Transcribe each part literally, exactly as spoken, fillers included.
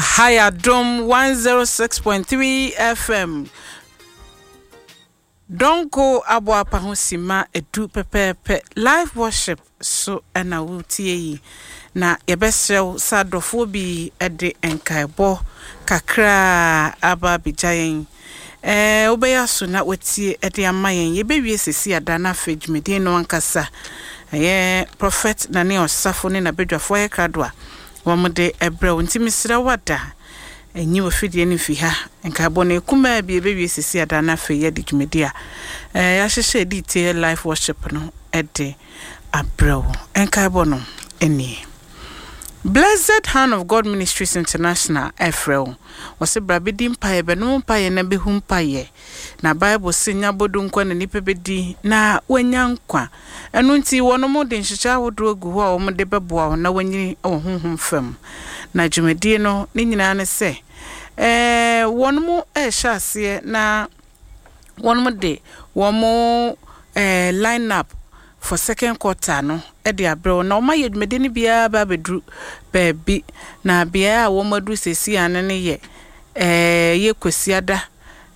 Aha yɛ Adom one zero six point three F M. Dɔnko aboapa ho sima edu pɛpɛɛpɛ. Live worship so ɛna wotie yi, na yɛbɛsrɛ wo sɛ adɔfoɔ bi de nkaebɔ kakra aba abɛgya yɛn. ɛɛ wobɛyɛ aso na watie de ama yɛn. Yɛbɛwie sesi ada no, afei dwumadie no ankasa, ɛyɛ Prophet Nane Ɔsafo ne n'abadwafoɔ ayɛ krado a wɔn de ɛbrɛ wo. Nti mesrɛ wo, ada ɛnyi wɔ fidie no mfi ha. Nkaebɔ no ekumaa bi, yɛbɛwie sesi ada no, afei yɛde dwumadie a ɛɛ yɛahyehyɛ de tie live worship no ɛde abrɛ wo. Nkaebɔ no nie: Blessed Hand of God Ministries International ɛfrɛ wo. Wɔsɛ bra bɛdi mpaeɛ, bɛnom mpaeɛ na bɛhu mpaeɛ, na Bible se nya bodo nkwa na nipa bɛdi na wanya nkwa. Ɛno nti wɔnom de nhyehyɛ ahodoɔ gu hɔ a wɔn de bɛboa wo na wanyini wɔ honhom fam. Na dwumadie no ne nyinaa ne sɛ ɛɛ wɔnom ɛrehyɛ aseɛ na wɔnom de wɔn ɛɛ line up for second quarter no de abrɛ wo, na wɔn ayɛ dwumadie no biara ba abɛduru baabi. Na beaeɛ a wɔn aduru seesei ano no yɛ ɛɛ yɛ Kwasiada,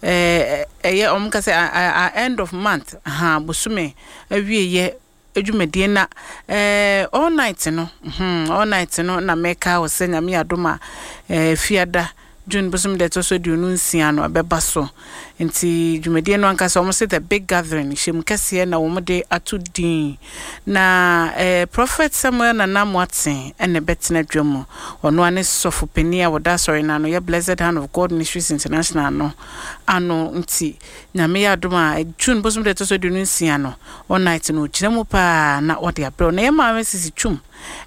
ɛɛ ɛyɛ wɔn ka sɛ a end of month ha, bosome awieyɛ dwumadie. Na ɛɛ all night no, hmm all night no na mɛka wɔ sɛ Nyame adom a, ɛɛ Fiada June bosom deɛ ɛtɔ so aduonu nsia no ɛbɛba so. Nti dwumadie no ankasa, wɔn sɛ The Big Gathering, hyɛm kɛseɛ na wɔn de ato din. Na ɛɛ Prophet Samuel Nana Moaten ɛna ɛbɛtena dwa mu. Ɔno ane sɔfo panin a wɔda asɔre no ano, yɛ Blessed Hand of God Ministries International no ano. Nti Nyame yɛ adom a, June bosom deɛ ɛtɔ so aduonu nsia no, all night no, ogyina mu paa na ɔde abrɛw. Na yɛ maame Sisi Twum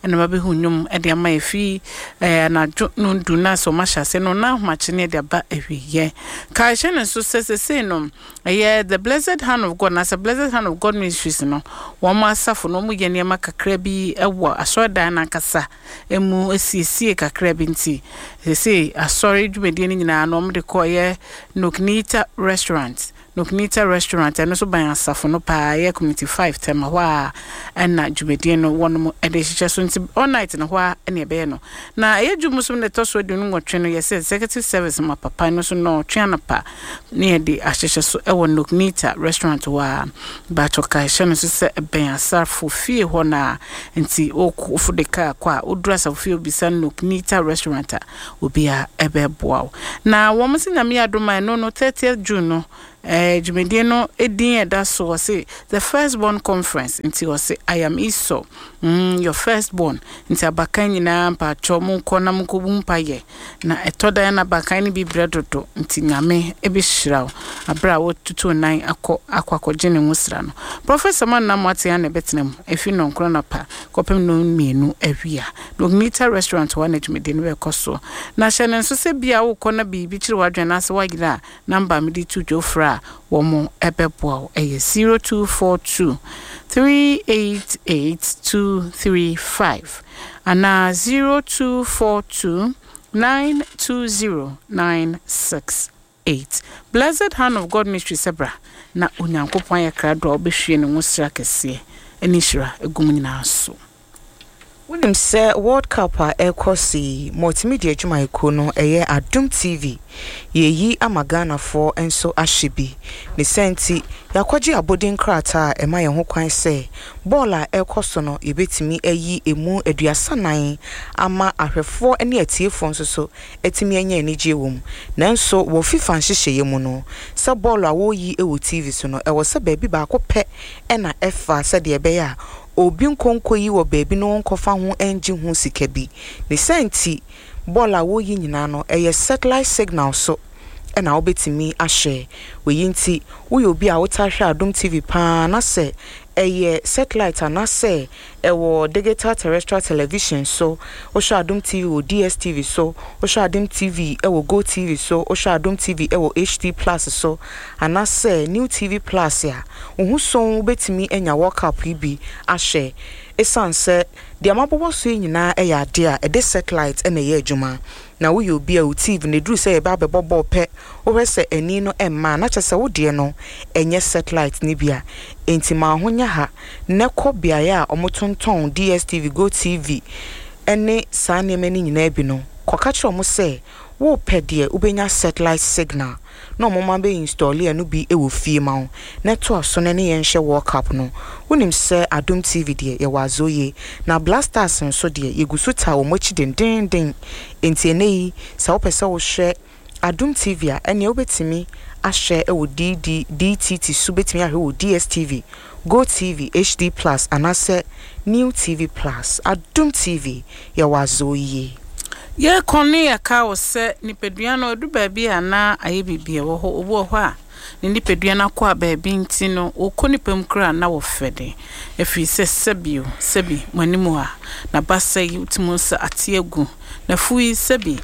ɛna babɛhu nnwom ɛde ama yɛ fi ɛɛ anadwo no du na sɛ ɔma hyɛ ase no na ahomakye ne ɛde aba awieɛ. Kae hyɛ ne nso sɛ sesei no ɛyɛ The Blessed Hand of God na sɛ Blessed Hand of God Ministries no, wɔn asafo no, wɔn yɛ nneɛma kakra bi ɛwɔ asɔredan n'ankasa emu, esiesie kakra bi. Nti sesei asɔre dwumadie no nyinaa no, wɔn de kɔ ɛyɛ Noknita Restaurant. Noknita Restaurant ɛno nso ban asafo no paa, ɛyɛ Community Five, Tɛma hɔ a ɛna dwumadie no wɔnom ɛde hyehyɛ so. Nti all night no hɔ a ɛna ɛbɛyɛ no. Na ɛyɛ dwum so no ɛtɔ so aduonu nwɔtwe no, yɛsɛ executive service ma papa no so na ɔtwe anapa ne yɛde ahyehyɛ so ɛwɔ Noknita Restaurant hɔ a baatɔ. Ka ɛhyɛ no nso sɛ ɛbɛn asafo fie hɔ na nti wofo de kaa kɔ a, woduru asafo fie, obisa Noknita Restaurant a, obiara ɛbɛboa wo. Na wɔn sɛ Nyame adom a, ɛno no thirtieth June no, ɛɛ dwumadie no edin ɛda so, wɔse The First Born Conference. Nti wɔse "I am Esau, mm, your first born". Nti abakan nyinaa, mpaatwɔ, monkɔ na monkɔbu mpayɛ. Na ɛtɔ dan na abakan no bi brɛ dodo, nti Nyame ɛbɛhyira wo abere a wotutu nan akɔ akɔ akɔgye ne ho sra no. Professor Manna Moate na ɛbɛtena mu ɛfi nnɔnkron napa kɔpem no mmienu awia. Nogmita Restaurant hɔ na dwumadie no bɛkɔ so. Na hyɛ no nso sɛ bia wokɔ na biribi kyerɛ w'adwene anaasɛ woayera a, number mede to dwa frɛ a, wɔn ɛbɛboa wo, ɛyɛ zero two four two three eight eight two three five anaa zero two four two nine two zero nine six eight. Blessed Hand of God Ministry sɛ bra na Onyankopɔn ayɛ krado a wobɛhwie ne ho sra kɛseɛ ɛne nhyira egu mu nyinaa so. Wonim sɛ World Cup a ɛrekɔ so yi, multimedia adwumayɛkuo no, ɛyɛ Adom T V, yɛyi ama Ghanafoɔ nso ahyɛ bi. Ne sɛ nti yɛakɔgye abɔden krataa a ɛma yɛn ho kwan sɛ bɔɔl a ɛrekɔ so no, yɛbɛtumi ayi emu aduasa nan ama ahwɛfoɔ ne atiefoɔ nso so atumi anya anigye wɔ mu. Nanso wɔ FIFA nhyehyɛeɛ mu no, sɛ bɔɔl a wɔreyi wɔ T V so no, ɛwɔ sɛ baabi baako pɛ ɛna ɛfa, sɛdeɛ ɛbɛyɛ a obi nkonko yi wɔ baabi na wɔnkɔfa ho ngye ho sika bi. Ne sɛ nti bɔɔl a wɔreyi nyinaa no, ɛyɛ satellite signal so ɛna wobɛtumi ahwɛ. Wei nti woyɛ obi a wotaa hwɛ Adom T V paa na sɛ ɛyɛ satellite anaasɛ ɛwɔ digital terrestrial television so, wohwɛ Adom T V wɔ D S T V so, wohwɛ Adom T V ɛwɔ Go T V so, wohwɛ Adom T V ɛwɔ H D Plus so anaasɛ New T V Plus a, wo ho so wobɛtumi anya World Cup yi bi ahwɛ, ɛsiane sɛ deɛ mabobɔ so yi nyinaa ɛyɛ adeɛ a ɛde satellite ɛna ɛyɛ adwuma. Na woyɛ obi a wo T V na ɛduru sɛ yɛbɛ abɛbɔ bɔɔl pɛ, wohwɛ sɛ ani no ɛmma, na kyerɛ sɛ wo deɛ no ɛnyɛ satellite no bi a, enti ma ho nyɛ ha na kɔ beaeɛ a wɔtontɔn D S T V, Go T V ɛne saa nneɛma no nyinaa bi no. Kɔka kyerɛ ɔmo sɛ wopɛ deɛ wobɛnya satellite signal na ɔmo ma bɛ install ɛno bi wɔ fie ma wo na ɛto aso no ne yɛnhyɛ World Cup no. Wonim sɛ Adom T V deɛ, yɛwɔ azɔ na Black Stars nso deɛ, yɛgu so taa wɔn akyi dendenden. Nti ɛnɛ yi, sɛ wopɛ sɛ wohwɛ Adom T V a, ɛnea wobɛtumi ahwɛ wɔ D D D T T so, wobɛtumi ahwɛ wɔ D S T V, Go T V H D Plus anaasɛ New T V Plus. Adom T V, yɛwɔ azɔ yie. Yɛkɔ ne yɛka wo sɛ nipadua no ɛdu baabi a na ayɛ biribi a ɛwɔ hɔ. Obi wɔ hɔ a ne nipadua no akɔ a baabi nti no wɔkɔ nipa mu koraa na wɔfɛ de ɛfiri sɛ sɛbi o sɛbi mo anim a na basa yi wotumi sɛ ate agu na fu yi sɛbi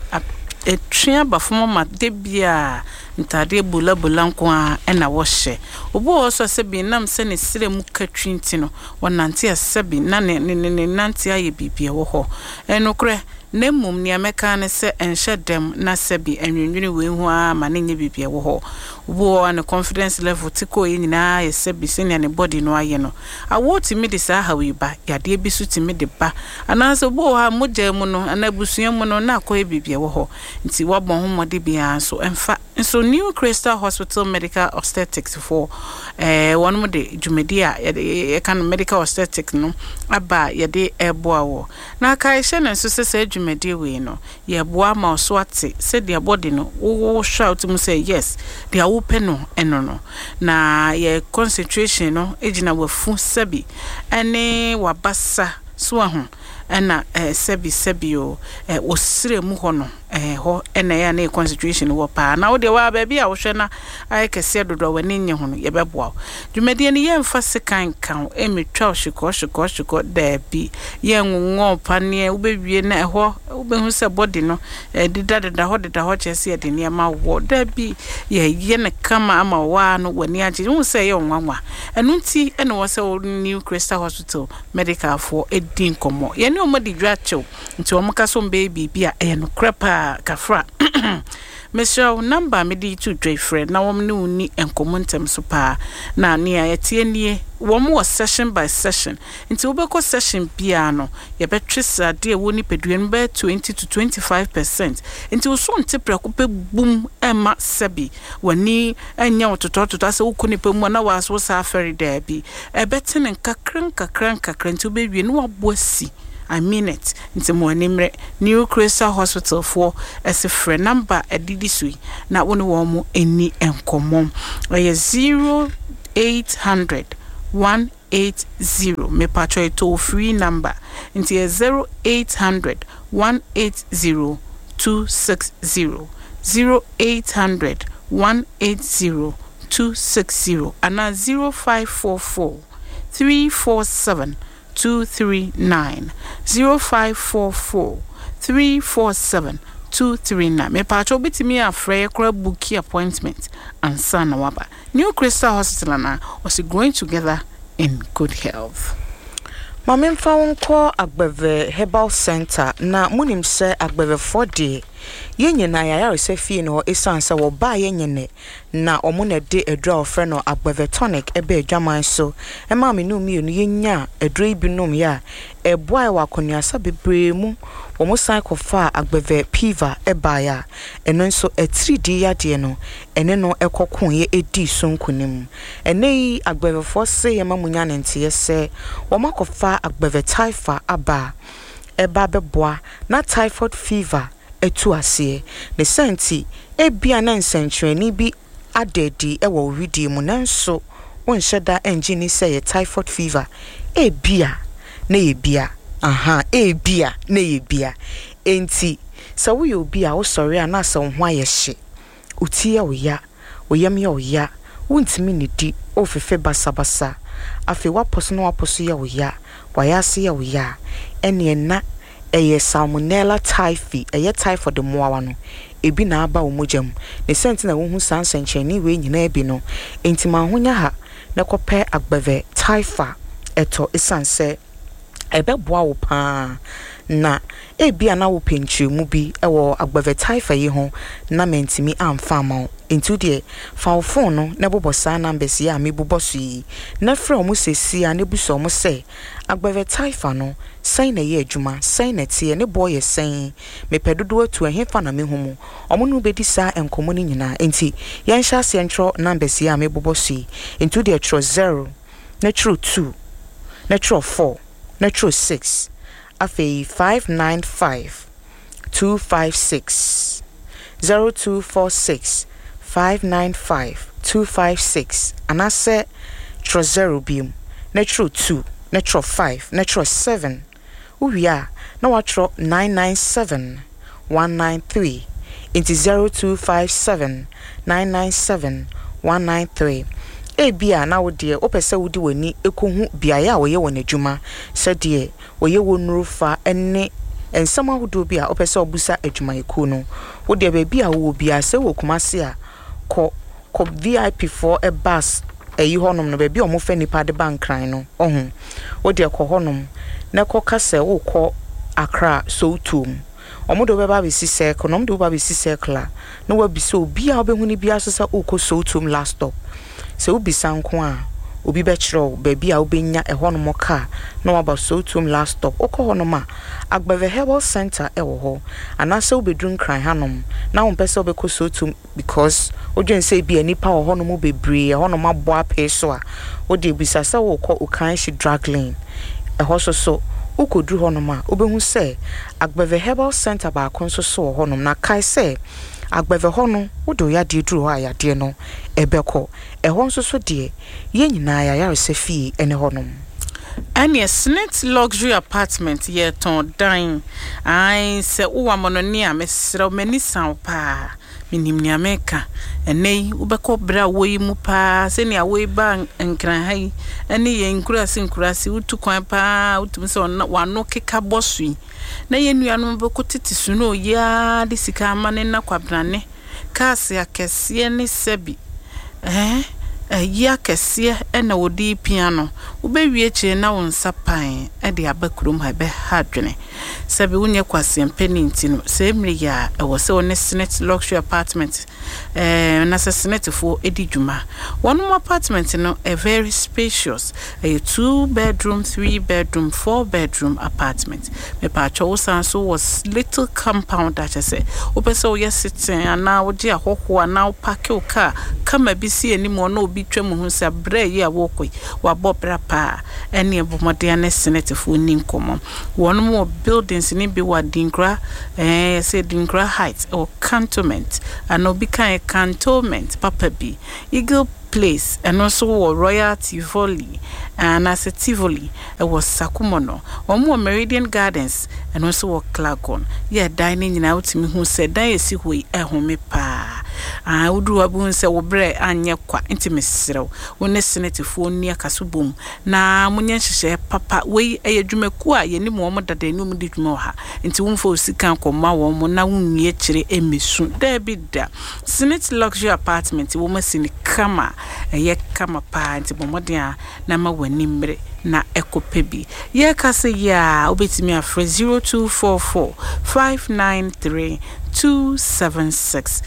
ɛtwe aba fam ama de bia ntadeɛ bolabola nko a ɛna wɔhyɛ. Obi wɔ hɔ so a sɛbi nam sɛ ne serɛ mu ka twi nti no wɔnante a sɛbi na ne ne ne ne nante ayɛ biribi a ɛwɔ hɔ. Ɛnokorɛ na mmom nea mɛka ne sɛ ɛnhyɛ dɛm na sɛbi ɛnwendwene wei ho ara ma ne nyɛ biribi a ɛwɔ hɔ. Obi wɔ hɔ a ne confidence level te kɔɔ yi nyinaa yɛ sɛbi sɛnea ne body no ayɛ no. Awoɔ tumi de saa haw yi ba, yadeɛ bi so tumi de ba, anaasɛ obi wɔ hɔ a mogya mu no anaa abusua mu no na akɔyɛ biribi a ɛwɔ hɔ. Nti wabɔ ho mmɔde biara nso ɛmfa nso. New Crystal Hospital Medical Obstetrics foɔ ɛɛ wɔn de dwumadi a yɛde yɛka no medical obstetrics no aba a yɛde ɛreboa wɔ na aka ɛhyɛ ne nso sɛ saa dwumadie wei no yɛboa ma ɔso ate sɛdeɛ body no wohwɛ a wotumi sɛ yes, deɛ wopɛ no ɛno no na yɛ concentration no gyina wafu sɛbi ɛne wabasa so aho ɛna ɛɛ sɛbi sɛbi o ɛɛ osire mu hɔ no ɛɛ hɔ ɛna ɛyɛ a ne yɛ concentration wɔ paa. Na wodeɛ waa baabi a wohwɛ na ayɛ kɛseɛ dodo a w'ani nye ho no, yɛbɛboa wo. Dwumadie no, yɛmfa sekan nka wo ɛmɛtwa wo hyekɔ hyekɔ hyekɔ, daabi. Yɛnwonwɔ paneɛ wobɛwie na ɛhɔ wobɛhu sɛ body no ɛdeda deda hɔ deda hɔ kyerɛ sɛ yɛde nneɛma wɔ. Daabi, yɛyɛ no kama ama waa no w'ani agye wohu sɛ ɛyɛ wo nwanwa. Ɛno nti ɛna wɔ sɛ wo New Crystal Hospital Medical foɔ ɛdi nkɔmmɔ. Yɛne wɔn de dwa kyɛw nti wɔn ka so mbɛyɛ biribi a ɛyɛ nokorɛ paa. Kafra, mesrɛ wo, number a mede to dwa yi, frɛ na wɔn ne wo ni nkɔmmɔ ntɛm so paa. Na nea yɛteɛ nie, wɔn wɔ session by session, nti wobɛkɔ session biara no, yɛbɛtwe sradeɛ a ɛwɔ nipadua no bɛyɛ twenty to twenty five percent. Nti woso nte prɛko pɛ bum ɛma sɛbi w'ani ɛnyɛ wo totɔtotɔ asɛ wokɔ nipa mu a na waaso saa afɛre. Daabi, ɛbɛte ne nkakra nkakra nkakra nti wobɛwie na wabɔ asi. I mean it. Nti mo ani mmerɛ New Crystal Hospital foɔ ɛsɛ frɛ number ɛdidi so yi na wo ne wɔn mo ani nkɔmmɔ. Ɛyɛ zero eight hundred one eight zero, mepatwɛ, toll free number nti yɛ zero eight hundred one eight zero two six zero, zero eight hundred one eight zero two six zero anaa zero five four four three four seven two three nine, zero five four four three four seven two three nine. Mepatwɛ, wobɛtumi afrɛ yɛ koraa book appointment ansa na waba New Crystal Hospital anaa ɔsi growing together in good health. Ma memfa wo nkɔ Agbɛvɛ Herbal Center. Na monim sɛ agbɛvɛfoɔ deɛ, yɛn nyinaa yɛayaresɛ fie no hɔ ɛsiane sɛ wɔbaa yɛn nyɛ na ɔmo na ɛde aduro a wɔfrɛ no Agbɛvɛ Tonic ɛbɛ adwaman so ɛmaa me no mmienu. Yɛnya aduro yi bi nom yɛ a ɛboa wɔ akɔnuasa bebree mu. Wɔn san kɔfaa Agbɛvɛ Piva ɛbaeɛ a ɛno nso atiridii yadeɛ no ɛne no ɛkɔko yɛ ɛdii so nkonim. Ɛnɛ yi agbɛvɛfoɔ se yɛma mu nya ne nteɛ sɛ wɔn akɔfa Agbɛvɛ Typha aba a ɛba bɛboa na typhoid fever atu aseɛ. Ne sɛ nti ebia na nsɛnkyerɛnne bi ada adi wɔ wo widie mu nanso wonhyɛ da ngye ni sɛ yɛ typhoid fever, ebia na yɛ bia aha, ebia na yɛ bia. Enti sɛ woyɛ obi a wosɔre a na sɛ wo ho ayɛ hye, wo ti yɛ wo ya, wo yam yɛ wo ya, wontumi nnidi, wofefe basabasa, afei woapɔ so na woapɔ so yɛ wo ya, wayɛ ase yɛ wo ya a, ɛneɛ na ɛyɛ Salmonella typhi, ɛyɛ typhoid mmoawa no ebi na aba wo mogya mu. Ne sɛ nti na wohu saa nsɛnkyerɛnne wei nyinaa bi no. Enti ma ho nya ha na kɔpɛ Agbɛvɛ Typha ɛtɔ ɛsiane sɛ ɛbɛboa wo paa. Na ebia na wopɛ nkyerɛmu bi wɔ Agbɛvɛ Typha yi ho na mantumi amfa ama wo, nti wo deɛ fa wo phone no na bobɔ saa numbers yi a mebobɔ so yi na frɛ ɔmo seesei a na ebusa ɔmo sɛ Agbeve Taifa no, sɛn na ɛyɛ adwuma, sɛn na ɛteɛ, ne boɔ yɛ sɛn, mepɛ dodoɔ atu, ɛhefa na mehu mu? Ɔmo ne wo bɛdi saa nkɔmmɔ no nyinaa. Enti yɛnhyɛ aseɛ ntwerɛ numbers yi a mebobɔ so yi. Enti wodeɛ twerɛ zero, na twerɛ two, na twerɛ four, na twerɛ six, afei five nine five two five six, zero two four six five nine five two five six, anaasɛ twerɛ zero biom, na twerɛ two, na twerɛ five, na twerɛ seven. Wowie a, na watwerɛ nine nine seven one nine three. Nti zero two five seven nine nine seven one nine three. Ebia na wo deɛ wopɛ sɛ wode w'ani kɔhu beaeɛ a wɔyɛ wɔn adwuma, sɛdeɛ wɔyɛ wɔn nnuro fa ne nsɛm ahodoɔ bi a wopɛ sɛ wobusa adwumayɛkuo no. Wo deɛ baabi a wowɔ biara, sɛ wɔ Kumase a, kɔ kɔ V I P foɔ bus ɛyi hɔnom no, baabi a wɔfa nipa de ba Nkran no, ɔho. Wo deɛ kɔ hɔnom na kɔka sɛ wokɔ Accra Sowutuom. Ɔmo de wobɛba abɛsi Circle, na ɔmo de woba abɛsi Circle a, na wabisa obiara a wobɛhu no biara so sɛ wokɔ Sowutuom last stop. Sɛ wobisa nko a, obi bɛkyerɛ wo baabi a wobɛnya ɛhɔnom kaa na waba Sowutuom last stop. Wokɔ hɔnom a, Agbeve Herbal Center ɛwɔ hɔ. Anaasɛ wobɛduru Nkran hanom na wompɛ sɛ wobɛkɔ Sowutuom because wodwen sɛ ebia nnipa wɔ hɔnom bebree, ɛhɔnom abɔ apee so a, wode bisa sɛ wokɔ Okaishie Drug Lane. Ɛhɔ so so wokɔduru hɔnom a, wobɛhu sɛ Agbeve Herbal Center baako nso so wɔ hɔnom. Na kae sɛ Agbeve hɔ no, wode wo yadeɛ duru hɔ a, yadeɛ no ɛbɛkɔ. Ɛhɔ nso so deɛ, yɛn nyinaa yɛayaresa fie ne hɔnom. Ɛneɛ Snit Luxury Apartment, yɛtɔn dan. Ae, sɛ wowɔ amanɔne a, mesrɛ wo, m'ani sa wo paa. Menim nea meka. Ɛnɛ yi wobɛkɔ berɛ a wɔyi mu paa, sɛnea wɔyi ba Nkran ha yi ɛne yɛn nkuraase nkuraase, wotu kwan paa, wotumi sɛ ɔna- w'ano keka bɔ so yi na yɛn nuanom bɛkɔ tete so na oyiaa de sika ama ne na kwabrane cars akɛseɛ ne sɛbi ɛɛ ɛyi akɛseɛ ɛna wɔde pia no. Wobɛwie akyire na wo nsa pan ɛde aba kurom ha, ɛbɛha adwene. Sɛbi wonyɛ kwaseɛmpɛ nti no, sɛ mmere yi a ɛwɔ sɛ wo ne Senate Luxury Apartment ɛɛ na sɛ Senate-foɔ di dwuma. Wɔn mo apartment no ɛ very spacious. Ɛyɛ two bedroom, three bedroom, four bedroom apartment. Mepatwa, wo san so wɔ little compound akyɛ sɛ wopɛ sɛ woyɛ sitting anaa wogye ahɔhoɔ anaa wopark wo car kama bi si anim hɔ na obi twa mu ho sɛ berɛ yi a wɔrekɔ yi wabɔ bra paa. Ɛne ɛbɔ mmɔden ne Senate-foɔ ni nkɔmmɔ. Wɔn wɔ buildings ne bi wɔ Adinkra, ɛɛ yɛsɛ Adinkra Heights, ɛwɔ Cantonment ana obi kan Cantonment papa bi, Eagle Place. Ɛno nso wɔ Royal Tivoli anaasɛ Tivoli, ɛwɔ Sakumono. Wɔn wɔ Meridian Gardens, ɛno nso wɔ Clagon. Yɛ dan no nyinaa, wotumi hu sɛ dan esi hɔ yi ɛhome paa. Ah, woduru hɔ bɛhu sɛ wo berɛ anyɛ kwa. Nti mesrɛ wo, wo ne Senetefoɔ nni akaso bom na monyɛ nhyehyɛeɛ papa. Wei ɛyɛ dwumakuo a yɛnim wɔn dada ne wɔn di dwuma wɔ ha, nti womfa wo sika nkɔma wɔn mo na wonwie akyire mmɛsu. Daabi da. Senate Luxury Apartment, wɔn asi no kama, ɛyɛ kama paa. Nti bɔ mmɔden a na ma w'ani mmere na ɛkɔpɛ bi. Yɛreka sɛ yi a, wobɛtumi afrɛ zero two four four five nine three two seven six,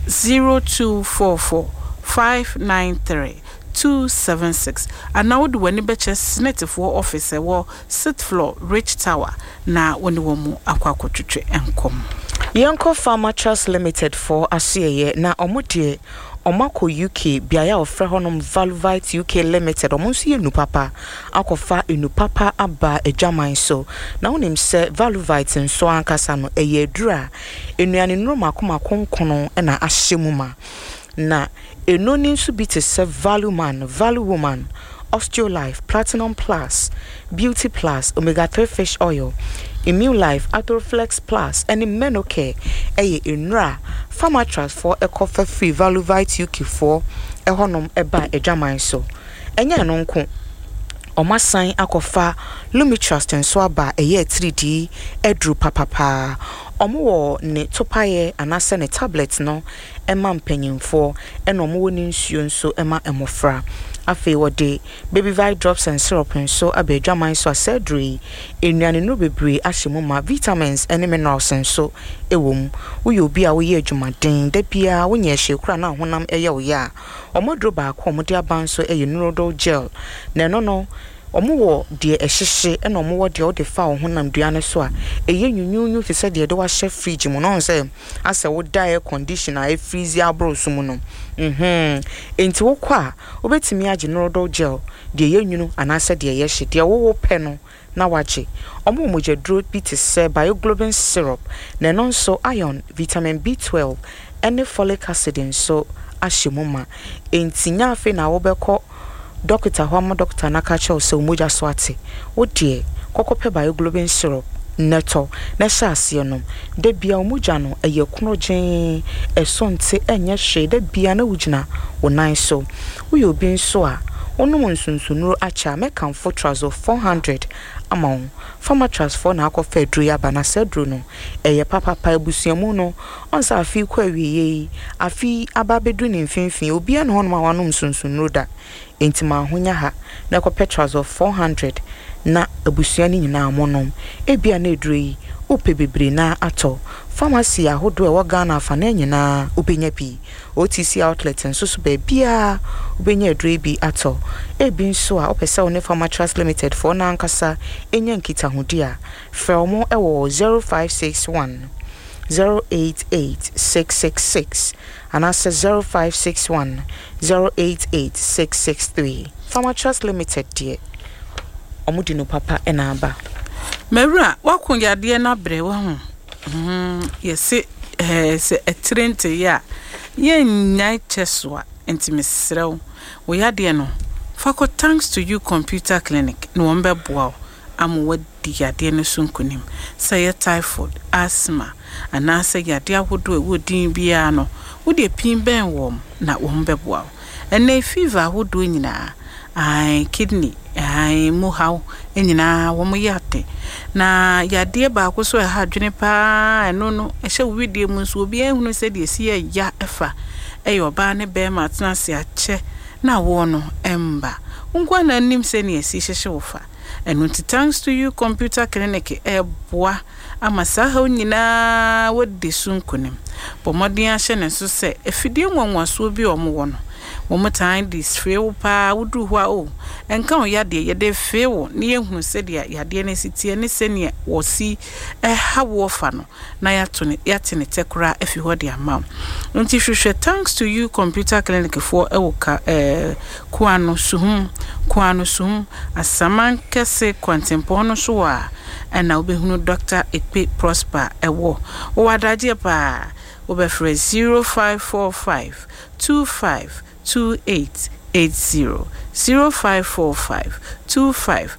zero two four four five nine three two seven six, anaa wode w'ani bɛkyerɛ Senetefoɔ office ɛwɔ sixth floor, Rich Tower, na wo ne wɔn mu akɔ akɔtwetwe nkɔm. Yɛnkɔ Pharma Trust Limited foɔ asoɛyɛ, na ɔmo deɛ ɔmo akɔ U K, beaeɛ a wɔfrɛ hɔnom Valvite U K Limited. Ɔmo nso yɛ nu papa, akɔfa enu papa aba adwaman so. Na wonim sɛ Valvite nso ankasa no ɛyɛ aduru a nnuane nnuro mako mako nkono ɛna ahyɛ mu ma, na enu ni nso bi te sɛ Value Man, Value Woman, Osteolife, Platinum Plus, Beauty Plus, Omega three fish oil, Immune Life, Arthroflex Plus ɛne Menocare. Ɛyɛ nnura Pharmatrust foɔ ɛkɔfa firi Valuvite U K foɔ ɛhɔnom ɛba adwaman so. Ɛnyɛ ɛno nko, ɔmo asan akɔfa Lumitrust nso aba, ɛyɛ atiridii aduru papapaa. Ɔmo wɔ ne topaeɛ anaasɛ ne tablet no ɛma mpanyinfoɔ, ɛna ɔmo wɔ ne nsuo nso ɛma mmɔfra. Afei wɔde Baby Vite drops and syrup nso aba adwaman so a sɛ aduru yi, nnuane nnuro bebree ahyɛ mu ma, vitamins ne minerals nso wɔ mu. Woyɛ obi a woyɛ adwumaden da biara, wonyɛ hwee koraa na ahonam ɛyɛ wo yɛ a, ɔmo aduro baako a ɔmo de aba nso yɛ Neurodol gel, na ɛno no Ɔmo wɔ deɛ ɛhyehye, ɛna ɔmo wɔ deɛ ɔde fa wo honam dua no so a ɛyɛ nwunwunwu te sɛ deɛ de wahyɛ fridge mu na ɔn sɛ asɛ woda air condition a ɛfreeze aboro so mu no. mhm enti wokɔ a, wobɛtumi agye Norodol gel, deɛ ɛyɛ nwunu anaasɛ deɛ ɛyɛ hye, deɛ wowɔ pɛ no na wagye. Ɔmo wɔ mogyaduro bi te sɛ Bioglobin syrup, na ɛno nso iron, vitamin B du mmienu ɛne folic acid nso ahyɛ mu ma. Enti nya afei na wobɛkɔ dɔkita hɔ ama dɔkita no aka kyerɛ wo sɛ wo mogya so ate. Wo deɛ, kɔkɔpɛ Bioglobin syrup nɛtɔ na ɛhyɛ aseɛ nom. Da bia wo mogya no ɛyɛ korɔgyee, ɛso nte, ɛnyɛ hwee. Da bia na wogyina wo nan so. Woyɛ obi nso a wonom nsonsonnuro akyɛ a, mɛkamfo Trazol four hundred ama wo. Pharmatrust foɔ na akɔfa aduro yi aba, na saa aduro no ɛyɛ papapa. Abusuamu no ɔn sɛ afei kɔ awieɛ yi, afei aba abɛduru ne mfimfini, obiara ne hɔnom a wanom nsonsonnuro da. Enti ma ahonya ha na ɛkɔpɛ Trazol four hundred na abusua no nyinaa monom. Ebia na aduro yi wopɛ bebree na atɔ, pharmacy ahodoɔ a ɛwɔ Ghana afanan nyinaa wobɛnya bi. O T C outlet nso so, baabiaa wobɛnya aduro yi bi atɔ. Ebi nso a wopɛ sɛ wo ne Pharmatrust Limited foɔ no ankasa ɛnya nkitahodi a, frɛ wɔn ɛwɔ zero five six one zero eight eight six six six anaasɛ zero five six one zero eight eight six six three. Pharmatrust Limited deɛ, ɔmo di no papa ɛna aba. Mawura, woako yadeɛ no abrɛ wahu. mm, yɛse eh, sɛ ɛtire nteyɛ a, yɛnnyae kyɛ so a. Nti mesrɛ wo, wo yadeɛ no, fa kɔ Thanks to You Computer Clinic na wɔn bɛboa wo ama woadi yadeɛ no so nkonim. Sɛ ɛyɛ typhoid, asthma anaasɛ yadeɛ ahodoɔ a ɛwɔ din biara no, wode pin bɛn wɔn na wɔn bɛboa wo. Ɛnɛ fever ahodoɔ nyinaa, ae, kidney ae mu haw nyinaa, wɔn yɛ ate. Na yadeɛ baako so a ɛha adwene paa, ɛno no ɛhyɛ wo widie mu nso, obiara nhunu sɛdeɛ ɛsi yɛ ya ɛfa ɛyɛ ɔbaa ne bɛrima atena ase akyɛ na awoɔ no ɛmba nkoa na anim sɛnea ɛsi hyehyɛ wo fa. Ɛno nti Thanks to You Computer Clinic ɛɛboa ama saa haw nyinaa wɔdi so nkonim. Bɔ mmɔden ahyɛ ne nso sɛ afidie nwanwasoɔ bi a wɔwɔ no, wɔn tan de fee wo paa. Woduru hɔ a, o ɛnka wo yadeɛ, yɛde fee wo na yɛhunu sɛdeɛ yadeɛ no si teɛ ne sɛnea wɔsi ɛha woɔ fa no, na yɛato ne yɛate ne tɛ koraa afi hɔ de ama wo. Nti hwehwɛ Thanks to You Computer Clinic foɔ ɛwɔ ka ɛɛ Kuano Suhum, Kuano Suhum Asaman Kɛse kwantempɔn no so a ɛna wobɛhunu Doctor Ekpe Prosper ɛwɔ. Wɔwɔ adagyeɛ paa. Wobɛfrɛ zero five four five two five two eight eight zero, zero five four five two five